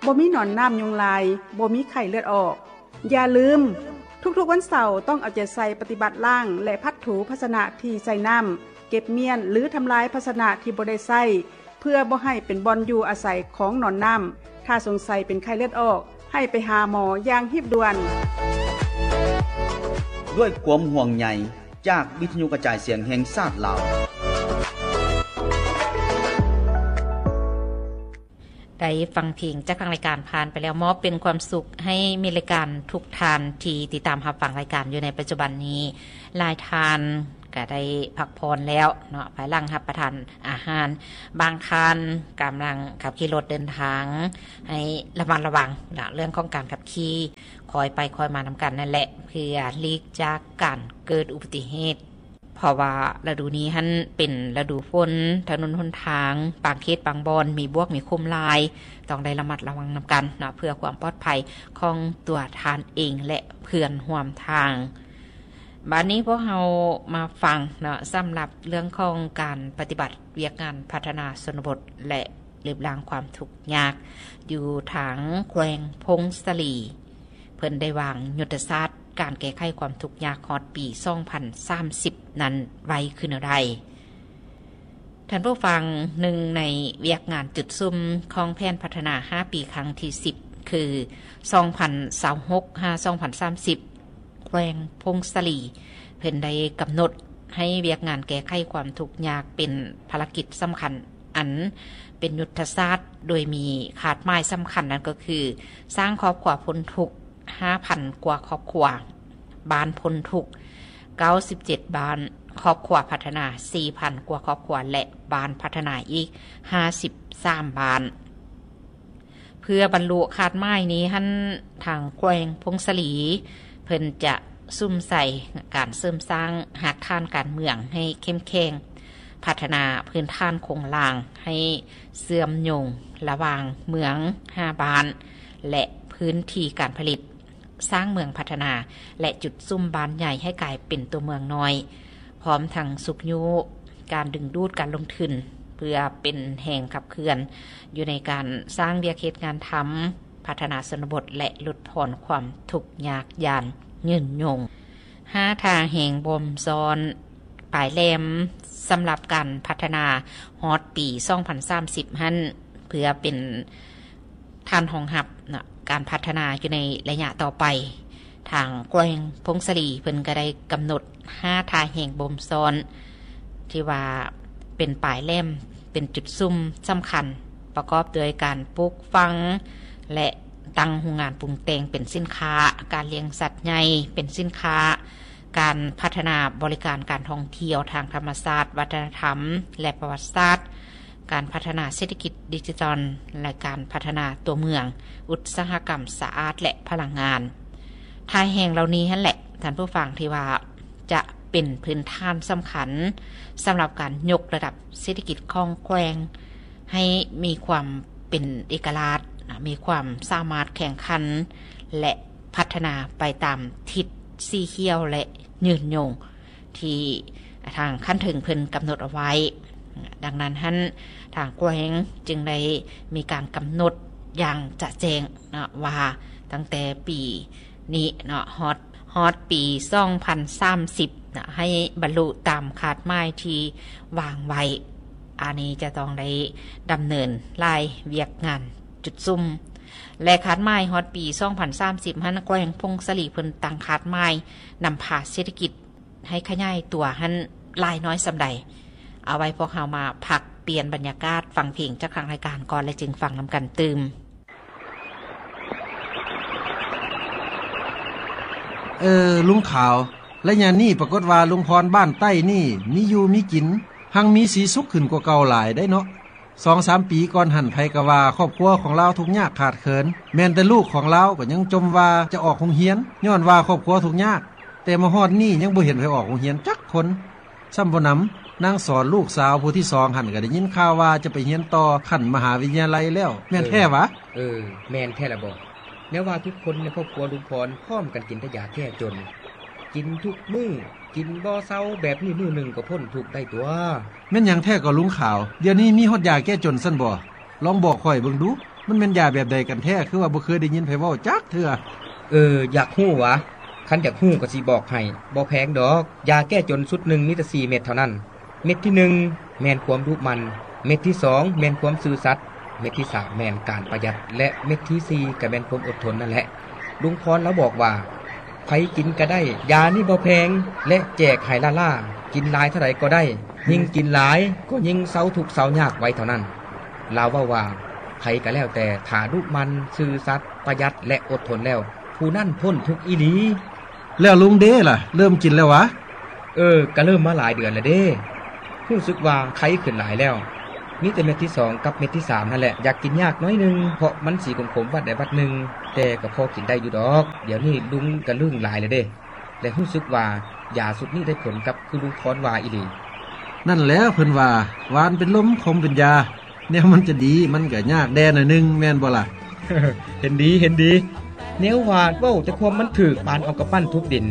ບໍ່ມີໜອນນ້ຳຍຸງລາຍ, ບໍ່ມີໄຂ້ເລືອດອອກ. ຢ່າລືມ, ທຸກໆວັນເສົາຕ້ອງເອົາໃຈໃສ່ປະຕິບັດລ້າງ ແລະ ພັດຖູພາຊະນະທີ່ໃສ່ນ້ຳ, ເກັບມ້ຽນ ຫຼື ທຳລາຍພາຊະນະທີ່ບໍ່ໄດ້ໃຊ້ ເພື່ອບໍ່ໃຫ້ເປັນບ່ອນຢູ່ອາໄສຂອງໜອນນ້ຳ. ຖ້າສົງໄສເປັນໄຂ້ເລືອດອອກ, ໃຫ້ໄປຫາໝໍຢ່າງຮີບດ່ວນ. ດ້ວຍຄວາມຫ່ວງໃຍຈາກວິທະຍຸກະຈາຍສຽງແຫ່ງຊາດລາວ. ໄດ້ຟັງເພງຈາກທາງລາຍການຜ່ານໄປແລ້ວ, ມອບເປັນຄວາມສຸກໃຫ້ມິດລາຍການທຸກທ່ານທີ່ຕິດຕາມຮັບຟັງລາຍການຢູ່ໃນປັດຈຸບັນນີ້. ຫຼາຍທ່ານກໍໄດ້ພັກຜ່ອນແລ້ວເນາະ, ພາຍຫຼັງຮັບປະທານອາຫານ. ບາງທ່ານກຳລັງຂັບຂີ່ລົດເດີນທາງ, ໃຫ້ລະມັດລະວັງເນາະ ເລື່ອງຂອງການຂັບຂີ່, ຄ່ອຍໄປຄ່ອຍມານຳກັນນັ້ນແຫຼະ ເພື່ອຫຼີກຈາກການເກີດອຸບັດຕິເຫດ. ເພາະວ່າລະດູນີ້ຫັ້ນເປັນລະດູຝົນ, ຖະໜົນຫົນທາງບາງເຂດບາງບ່ອນມີບວກມີຂຸມຫຼາຍ, ຕ້ອງໄດ້ລະມັດລະວັງນຳກັນເນາະ ເພື່ອຄວາມປອດໄພຂອງຕົວທ່ານເອງ ແລະ ເພື່ອນຮ່ວມທາງ. ບາດນີ້ພວກເຮົາມາຟັງເນາະ ສຳລັບເລື່ອງຂອງການປະຕິບັດວຽກງານພັດທະນາຊົນນະບົດ ແລະ ລຶບລ້າງຄວາມທຸກຍາກ ຢູ່ທາງແຂວງຜົ້ງສາລີ. ເພິ່ນໄດ້ວາງຍຸດທະສາດການແກ້ໄຂຄວາມທຸກຍາກຮອດປີສອງພັນສາມສິບນັ້ນໄວ້ຄືແນວໃດ? ທ່ານຜູ້ຟັງ, ໜຶ່ງໃນວຽກງານຈຸດສຸມຂອງແຜນພັດທະນາຫ້າປີຄັ້ງທີສິບ ຄື ສອງພັນຊາວຫົກ ຫາ ສອງພັນສາມສິບ ແຂວງຜົ້ງສາລີ ເພິ່ນໄດ້ກຳນົດໃຫ້ວຽກງານແກ້ໄຂຄວາມທຸກຍາກເປັນພາລະກິດສຳຄັນ ອັນເປັນຍຸດທະສາດ ໂດຍມີຄາດໝາຍສຳຄັນນັ້ນກໍຄື ສ້າງຄອບຄົວພົ້ນທຸກຫ້າພັນກວ່າຄອບຄົວ, ບ້ານພົ້ນທຸກເກົ້າສິບເຈັດບ້ານ, ຄອບຄົວພັດທະນາສີ່ພັນກວ່າຄອບຄົວ ແລະ ບ້ານພັດທະນາອີກຫ້າສິບສາມບ້ານ. ເພື່ອບັນລຸຄາດໝາຍນີ້ຫັ້ນ, ທາງແຂວງຜົ້ງສາລີ ເພິ່ນຈະສຸມໃສ່ການເສີມສ້າງຮາກຖານການເມືອງໃຫ້ເຂັ້ມແຂງ, ພັດທະນາພື້ນຖານໂຄງລ່າງໃຫ້ເຊື່ອມໂຍງລະຫວ່າງເມືອງຫ້າບ້ານ ແລະ ພື້ນທີ່ການຜະລິດ, ສ້າງເມືອງພັດທະນາ ແລະ ຈຸດສຸມບ້ານໃຫຍ່ໃຫ້ກາຍເປັນຕົວເມືອງນ້ອຍ, ພ້ອມທັງຊຸກຍູ້ການດຶງດູດການລົງທຶນ ເພື່ອເປັນແຮງຂັບເຄື່ອນຢູ່ໃນການສ້າງວຽກເຮັດງານທຳ, ພັດທະນາຊົນນະບົດ ແລະ ຫຼຸດຜ່ອນຄວາມທຸກຍາກຢ່າງຍືນຍົງ. ຫ້າທ່າແຮງບົ່ມຊ້ອນປາຍແຫຼມ ສຳລັບການພັດທະນາຮອດປີສອງພັນສາມສິບຫັ້ນ ເພື່ອເປັນ ຖານຮອງຮັບເນາະ ການພັດທະນາຢູ່ໃນໄລຍະຕໍ່ໄປ. ທາງແຂວງຜົ້ງສາລີເພິ່ນກໍໄດ້ກຳນົດຫ້າທ່າແຮງບົ່ມຊ້ອນ ທີ່ວ່າເປັນປາຍແຫຼມ ເປັນຈຸດສຸມສຳຄັນ ປະກອບດ້ວຍການປູກຝັງ ແລະ ຕັ້ງໂຮງງານປຸງແຕ່ງເປັນສິນຄ້າ, ການລ້ຽງສັດໃຫຍ່ເປັນສິນຄ້າ, ການພັດທະນາບໍລິການການທ່ອງທ່ຽວທາງທຳມະຊາດ, ວັດທະນະທຳ ແລະ ປະຫວັດສາດ, ການພັດທະນາເສດຖະກິດດິຈິຕອນ ແລະ ການພັດທະນາຕົວເມືອງ, ອຸດສາຫະກຳສະອາດ ແລະ ພະລັງງານ. ທ່າແຮງເຫຼົ່ານີ້ຫັ້ນແຫຼະ ທ່ານຜູ້ຟັງ ທີ່ວ່າຈະເປັນພື້ນຖານສຳຄັນສຳລັບການຍົກລະດັບເສດຖະກິດຂອງແຂວງໃຫ້ມີຄວາມເປັນເອກະລາດ, ມີຄວາມສາມາດແຂ່ງຂັນ ແລະ ພັດທະນາໄປຕາມທິດສີຂຽວ ແລະ ຍືນຍົງ ທີ່ທາງຂັ້ນເທິງເພິ່ນກຳນົດເອົາໄວ້. ດັ່ງນັ້ນຫັ້ນ ທາງແຂວງຈຶ່ງໄດ້ມີການກຳນົດຢ່າງຈະແຈ້ງເນາະ ວ່າຕັ້ງແຕ່ປີນີ້ເນາະ ຮອດ ຮອດປີສອງພັນສາມສິບເນາະ ໃຫ້ບັນລຸຕາມຄາດໝາຍທີ່ວາງໄວ້. ອັນນີ້ຈະຕ້ອງໄດ້ດຳເນີນຫຼາຍວຽກງານຈຸດສຸມ ແລະ ຄາດໝາຍຮອດປີສອງພັນສາມສິບຫັ້ນ ແຂວງຜົ້ງສາລີເພິ່ນຕັ້ງຄາດໝາຍນຳພາເສດຖະກິດ ໃຫ້ຂະຫຍາຍຕົວຫັ້ນຫຼາຍນ້ອຍສ່ຳໃດ? ເອົາໄວ້ພວກເຮົາມາພັກປ່ຽນບັນຍາກາດ ຟັງເພງຈາກທາງລາຍການກ່ອນ ແລ້ວຈຶ່ງຟັງນຳກັນຕື່ມ. ເອີ ລຸງຂາວ, ໄລຍະນີ້ປາກົດວ່າລຸງພອນບ້ານໃຕ້ນີ້ມີຢູ່ມີກິນ ຮັ່ງມີສີສຸກຂຶ້ນກວ່າເກົ່າຫຼາຍໄດ໋ເນາະ. ສອງສາມປີກ່ອນຫັ້ນ ໃຜກໍວ່າຄອບຄົວຂອງລາວທຸກຍາກຂາດເຂີນ, ແມ່ນແຕ່ລູກຂອງລາວກໍຍັງຈົ່ມວ່າຈະອອກໂຮງຮຽນ ຍ້ອນວ່າຄອບຄົວທຸກຍາກ, ແຕ່ມາຮອດນີ້ຍັງບໍ່ເຫັນໃຜອອກໂຮງຮຽນຈັກຄົນ. ຊ້ຳບໍ່ໜຳ ນາງສອນລູກສາວຜູ້ທີສອງຫັ້ນ ກໍໄດ້ຍິນຂ່າວວ່າຈະໄປຮຽນຕໍ່ຂັ້ນມະຫາວິທະຍາໄລແລ້ວ, ແມ່ນແທ້ຫວາ? ເອີ ເອີ ແມ່ນແທ້ລະບໍ? ແນວວ່າທຸກຄົນໃນຄອບຄົວລຸງພອນພ້ອມກັນກິນແຕ່ຢາແກ້ຈົນ, ກິນທຸກມື້ ກິນບໍ່ເຊົາແບບນີ້ ມື້ໜຶ່ງກໍພົ້ນທຸກໄດ້ຕົວະ. ແມ່ນຫຍັງແທ້ກໍລຸງຂາວ? ດຽວນີ້ມີຮອດຢາແກ້ຈົນຊັ້ນບໍ? ລອງບອກຂ້ອຍເບິ່ງດູ. ມັນແມ່ນຢາແບບໃດກັນແທ້ ຄືວ່າບໍ່ເຄີຍໄດ້ຍິນໃຜເວົ້າຈັກເທື່ອ? ເອີ ຢາກຮູ້ຫວາ? ຄັນຢາກຮູ້ກໍຊິບອກໃຫ້. ບໍ່ແພງດອກ. ຢາແກ້ຈົນຊຸດໜຶ່ງມີແຕ່ສີ່ເມັດເທົ່ານັ້ນ. ເມັດທີໜຶ່ງແມ່ນຄວາມດຸໝັ່ນ, ເມັດທີສອງແມ່ນຄວາມຊື່ສັດ, ເມັດທີສາມແມ່ນການປະຢັດ ແລະ ເມັດທີສີ່ກໍແມ່ນຄວາມອົດທົນນັ້ນແຫຼະ. ລຸງພອນລາວບອກວ່າ ໃຜກິນກໍໄດ້, ຢານີ້ບໍ່ແພງ ແລະ ແຈກໃຫ້ລ້າໆ, ກິນຫຼາຍເທົ່າໃດກໍໄດ້, ຍິ່ງກິນຫຼາຍກໍຍິ່ງເຊົາທຸກເຊົາຍາກໄວເທົ່ານັ້ນ. ລາວເວົ້າວ່າ ໃຜກໍແລ້ວແຕ່ ຖ້າດຸໝັ່ນ, ຊື່ສັດ, ປະຢັດ ແລະ ອົດທົນແລ້ວ, ຜູ້ນັ້ນພົ້ນທຸກອີ່ຫຼີ. ແລ້ວລຸງເດລະ ເລີ່ມກິນແລ້ວຫວາ? ເອີ ກະເລີ່ມມາຫຼາຍເດືອນແລ້ວເດ້. ຮູ້ສຶກວ່າໄຄຂຶ້ນຫຼາຍແລ້ວ. ມີແຕ່ເມັດທີສອງກັບເມັດທີສາມຫັ້ນແຫຼະ ຢາກກິນຍາກໜ້ອຍໜຶ່ງ ເພາະມັນສີຂົມໆວັດໃດວັດໜຶ່ງ, ແຕ່ກໍພໍກິນໄດ້ຢູ່ດອກ. ດຽວນີ້ລຸງກະລຶ້ງຫຼາຍແລ້ວເດ້ ແລະ ຮູ້ສຶກວ່າຢາຊຸດນີ້ໄດ້ຜົນກັບຄືລຸງພອນວ່າອີ່ຫຼີ. ນັ້ນແຫຼະ ເພິ່ນວ່າ ຫວານເປັນລົມ ຂົມເປັນຢາ. ແນວມັນຈະດີ ມັນກະຍາກແດ່ໜ້ອຍໜຶ່ງ ແມ່ນບໍ່ລະ? ເຫັນດີ ເຫັນດີ. ແນວວ່າເວົ້າແຕ່ຄວາມມັນຖືກ ປານເອົາກຳປັ້ນທຸບດິນ.